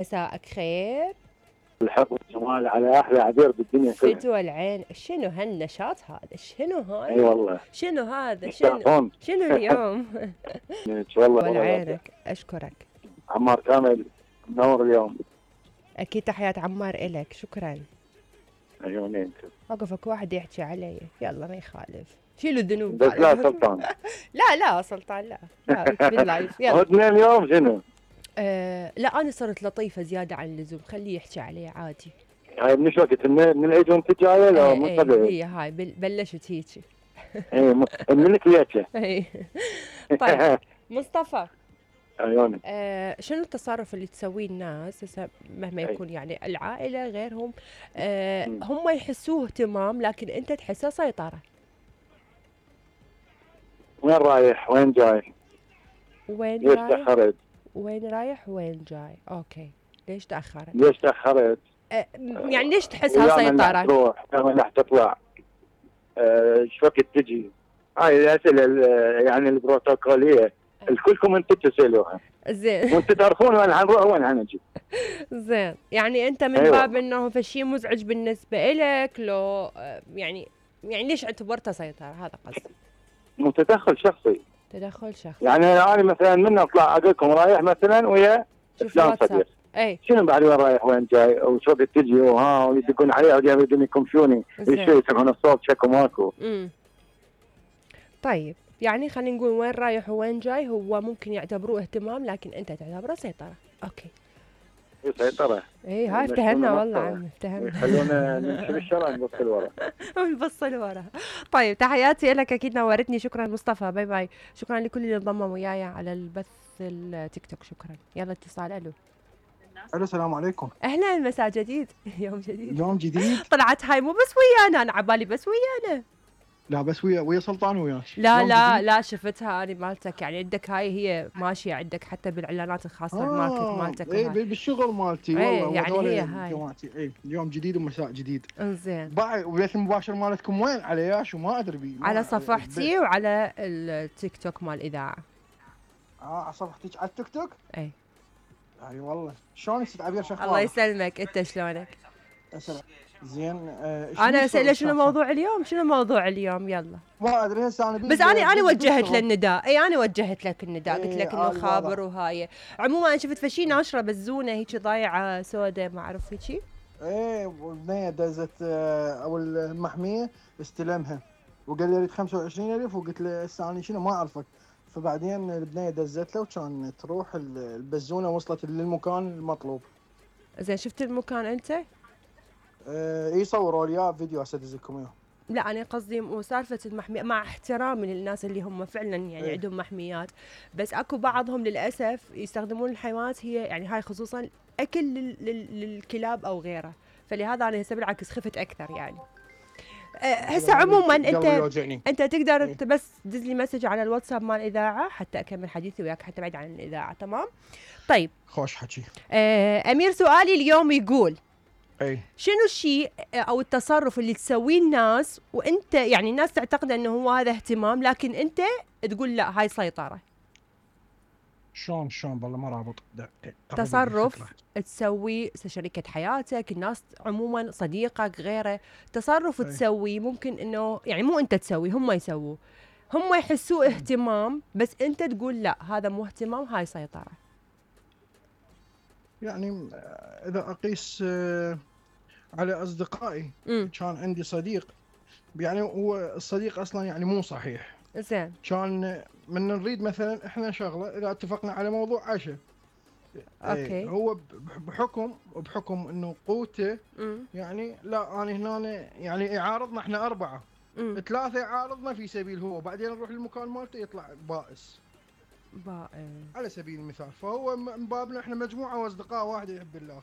مساءك خير. الحب والجمال على احلى عبير بالدنيا كلها. فدوى العين، شنو هالنشاط هذا؟ شنو هذا؟ اي والله. شنو هذا؟ مستعفون. شنو اليوم؟ والله والعينك، اشكرك. عمار كامل منور اليوم. اكيد تحيات عمار الك، شكرا. عيونين. وقفك واحد يحكي علي، يلا ما يخالف، شيلوا الذنوب. بس لا سلطان. لا سلطان لا باللايف يلا. اثنين اليوم شنو؟ لا انا صرت لطيفه زياده عن اللزوم، خليه يحكي علي عادي. هاي من شو وقت؟ من العيد وانت جايه لو من قبل؟ هي هاي بلشت هيجي. اي منك ليش؟ اي طيب مصطفى. عيوني. شنو التصرف اللي تسويه الناس هسه مهما يكون يعني العائله غيرهم، هم يحسوه اهتمام لكن انت تحسه سيطره؟ وين رايح؟ وين جاي؟ وين ليش رايح؟ تاخرت؟ وين رايح وين جاي؟ اوكي، ليش تاخرت؟ ليش تاخرت؟ يعني ليش تحسها سيطره؟ تروح راح تطلع، شو وقت تجي؟ هاي الاسئله يعني البروتوكوليه الكلكم انتم تسالوها. زين. وانتم تعرفون وين حنروح وين حنجي. زين، يعني انت من باب انه فشي مزعج بالنسبه لك لو يعني ليش اعتبرته سيطره؟ هذا قصدي. تدخل شخصي. تدخل شخصي. يعني انا مثلا من اطلع اقول لكم رايح مثلا ويا فلان صديق. اي شنو بعد وين رايح وين جاي وشو وقت تجي وها ويدقون عليها ويبدون يكمشوني يسمعون الصوت شكو ماكو. طيب يعني خلينا نقول وين رايح وين جاي هو ممكن يعتبروه اهتمام لكن انت تعتبره سيطره. اوكي. سيطره. اي هاي افتهمنا والله عم افتهمنا. خلونا نمشي بالشارع نبص لورا. نبص لورا. طيب تحياتي لك، اكيد نورتني. شكرا مصطفى، باي باي. شكرا لكل اللي انضموا وياي على البث التيك توك. شكرا. يلا اتصال. الو. السلام عليكم. اهلا، مساء جديد. يوم جديد. طلعت هاي مو بس ويانا، انا عبالي بس ويانا. لا بس ويا سلطان وياك. لا شفتها انا مالتك، يعني عندك هاي هي ماشيه عندك حتى بالاعلانات الخاصه مالتك. اي بالشغل مالتي والله. يعني هي هاي جماعتي. اي اليوم جديد ومساء جديد. انزين. باي. وبث المباشر مالتكم وين؟ على ياش وما ادري بيه. على صفحتي وعلى التيك توك مال الاذاعه. على صفحتك على التيك توك؟ اي والله. شلونك ست عبير؟ شخبارك؟ الله يسلمك، انت شلونك؟ زين. انا اساله شنو موضوع اليوم؟ يلا. ما ادري هسه انا بس انا وجهت له النداء. انا وجهت لك النداء، قلت لك انه خابر وهاي. عموما انا شفت فشي ناشره بزونه هيك ضايعه سوداء ما اعرف هيك. والبنيه دزت او المحميه استلمها وقال لي اريد 25,000 وقلت له هسه انا شنو ما اعرفك. فبعدين البنيه دزت له وكان تروح البزونه وصلت للمكان المطلوب. زين شفت المكان انت؟ يصوروا لي فيديو هسه ادز لكم اياه. لا انا قصدي مو سالفه المحميه، مع احترامي للناس اللي هم فعلا يعني عندهم محميات، بس اكو بعضهم للاسف يستخدمون الحيوانات هي يعني هاي خصوصا اكل للكلاب او غيره، فلهذا انا هسه بالعكس خفت اكثر يعني. هسه عموما انت تقدر بس دز لي مسج على الواتساب مال الاذاعه حتى اكمل حديثي وياك حتى بعيد عن الاذاعه. تمام؟ طيب خوش حكي. امير سؤالي اليوم يقول شنو الشيء او التصرف اللي تسويه الناس وانت يعني الناس تعتقد انه هو هذا اهتمام لكن انت تقول لا هاي سيطره؟ شلون والله ما رابط. تصرف تسوي شريكة حياتك، الناس عموما، صديقك، غيره، تصرف تسوي ممكن انه يعني مو انت تسوي، هم يسووه، هم يحسوه اهتمام بس انت تقول لا هذا مو اهتمام، هاي سيطره. يعني اذا اقيس على اصدقائي، كان عندي صديق يعني هو الصديق اصلا يعني مو صحيح. زين. كان من نريد مثلا احنا شغله اذا اتفقنا على موضوع عشاء. اوكي. هو بحكم انه قوته يعني لا انا هنا يعني يعارضنا احنا 4 3 يعارضنا في سبيل هو بعدين نروح للمكان مالته يطلع بائس على سبيل المثال. فهو من بابنا احنا مجموعه واصدقاء واحد يحب الله.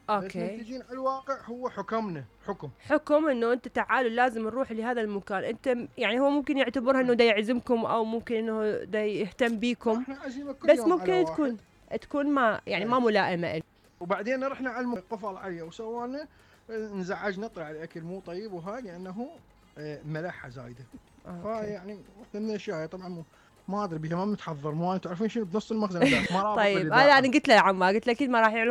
اوكي. بس نتيجين على الواقع هو حكم انه انت تعالوا لازم نروح لهذا المكان. انت يعني هو ممكن يعتبرها انه دا يعزمكم او ممكن انه دا يهتم بيكم، بس ممكن تكون ما يعني ما ملائمه له. وبعدين رحنا على قفل عليه وسوانا انزعجنا، طلع الاكل مو طيب وهاي لانه ملحه زايده. فيعني من الاشياء طبعا ما ادري بها ما متحضر، مو انتم عارفين شنو بنص المخزن ما. طيب انا قلت له يا عمار، قلت له اكيد ما راح يعرف